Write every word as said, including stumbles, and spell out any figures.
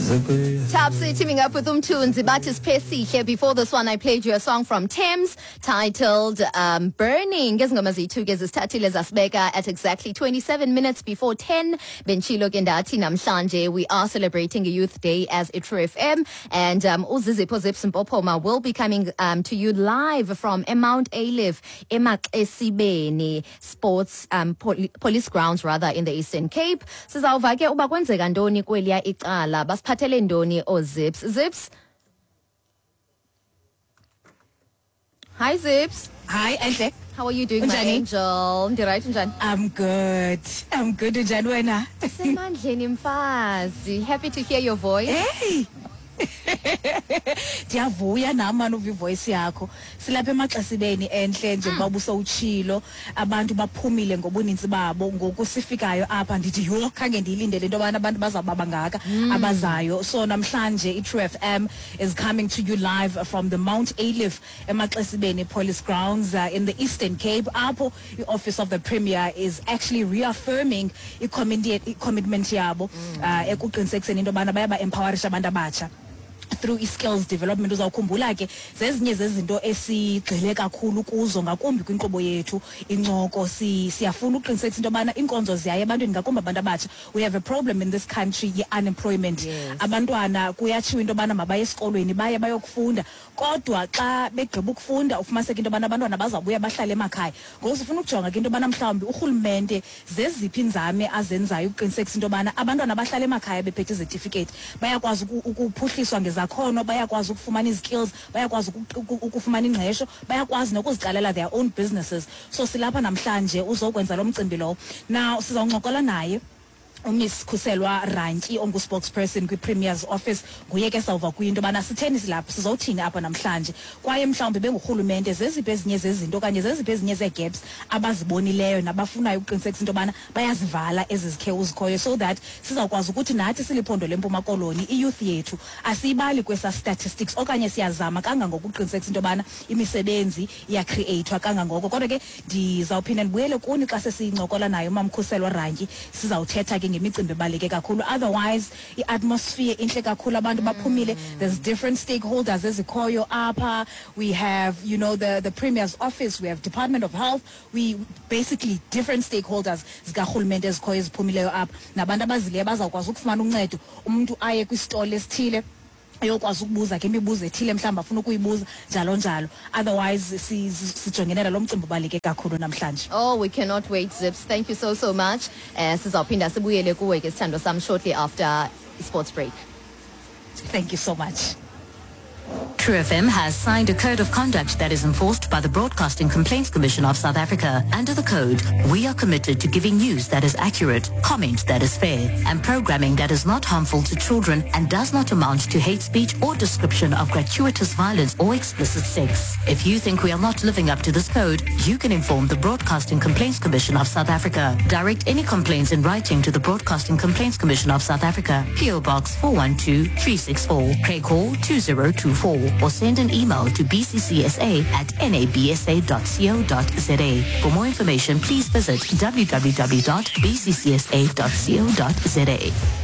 Topsy teaming up with Umthunzi bathi Siphesihle. Before this one I played you a song from Thames titled um, Burning. Ngezingoma zethu ke zisithathile zasibeka at exactly twenty-seven minutes before ten. Benditshilo ke ndathi namhlanje we are celebrating a Youth Day as iTru F M and um, uZizipho Zips Mpopoma will be coming um, to you live from Mount Ayliff, eMaxesibeni Sports um, Poli Police Grounds rather, in the Eastern Cape. Sizawuva ke uba kwenzeka ntoni kweliya icala, basiphathele ntoni ooZips. Zips, hi Zips. Hi, Enhle. How are you doing, my Unjani? angel? Ndiright, unjani? I'm good. I'm good. Unjani wena? Semandleni mfazi. Happy to hear your voice. Hey. Ndiyavuya nam mani uva ivoice yakho. Silapha eMaxesibeni, Enhle, njengoba ubusowutshilo, abantu baphumile ngobuninzi babo. Ngoku sifikayo apha ndithi yho, khange ndiyilindele into yobana abantu bazawuba bangaka abazayo. So namhlanje iTrue F M is coming to you live from the Mount Ayliff eMaxesibeni Police Grounds uh, in the Eastern Cape, apho i-Office of the Premier is actually reaffirming i-commitment yabo uh, ekuqinisekiseni into yobana bayaba-empowerisha abantu abatsha through i-skills development. Uzawukhumbula ke zezinye zezinto esigxile kakhulu kuzo, ngakumbi kwinkqubo yethu Incoko. si, siyafuna ukuqinisekisa into yobana iinkonzo ziyaya ebantwini, ngakumbi abantu abatsha. We have a problem in this country ye-unemployment. Yes. Abantwana kuyatshiwo into yobana mabaye esikolweni, baye bayokufunda, kodwa xa begqiba ukufunda ufumaniseka into yobana abantwana bazawubuya bahlale emakhaya. Ngoku sifuna ukujonga ke into yobana mhlawumbi urhulumente zeziphi iinzame azenzayo ukuqinisekisa into yobana abantwana abahlala emakhaya bephethe izetifiketi bayakwazi uku- ukuphuhliswa ngezakhono, bayakwazi ukufumana izikills, bayakwazi uku- uku- ukufumana ingqesho, bayakwazi nokuziqalela their own businesses. So silapha namhlanje uzokwenza lo mcimbi lowo. Now sizawuncokola naye uMiss Khuselwa Rantyi, ongu-spokesperson kwi-Premier's Office. Nguye ke sawuva kuyo into yobana sitheni silapha, sizowuthini apha namhlanje, kwaye mhlawumbi bengurhulumente zeziphi ezinye zezinto okanye zeziphi ezinye zee-gaps abazibonileyo nabafunayo ukuqinisekisa into yobana bayazivala ezi zikhewu zikhoyo, so that sizawukwazi ukuthi nathi siliphondo leMpuma Koloni iyouth yethu asiyibali kwesa statistics, okanye siyazama kangangoko ukuqinisekisa into yobana imisebenzi iyacreatwa kangangoko. Kodwa ke ndizawuphinda ndibuyele kuni xa sesincokola nayo uMamkhuselwa Rantyi. Sizawuthetha ke ngemicimbi ebaluleke kakhulu. Otherwise i-atmosphere intle kakhulu, abantu baphumile. There's different stakeholders ezikhoyo apha. We have you know the, the Premier's Office, we have Department of Health, we basically different stakeholders zikarhulumente ezikhoyo eziphumileyo apha, nabantu abazileyo bazawukwazi ukufumana uncedo, umntu aye kwisitolo esithile ayokwazi ukubuza ke imibuzo ethile mhlawumbi afuna ukuyibuza, njalo njalo. Otherwise si- si- sijongene nalo mcimbi ubaluleke kakhulu namhlanje. Oh, we cannot wait, Zips. Thank you so, so much. Uh, sizawuphinda sibuyele kuwe ke, sithando sam, shortly after sports break. Thank you so much. True F M has signed a code of conduct that is enforced by the Broadcasting Complaints Commission of South Africa. Under the code, we are committed to giving news that is accurate, comment that is fair, and programming that is not harmful to children and does not amount to hate speech or description of gratuitous violence or explicit sex. If you think we are not living up to this code, you can inform the Broadcasting Complaints Commission of South Africa. Direct any complaints in writing to the Broadcasting Complaints Commission of South Africa, P O. Box four one two three six four, Craighall two zero two four, or send an email to b c c s a at nabsa dot co dot za. For more information, please visit w w w dot b c c s a dot co dot za.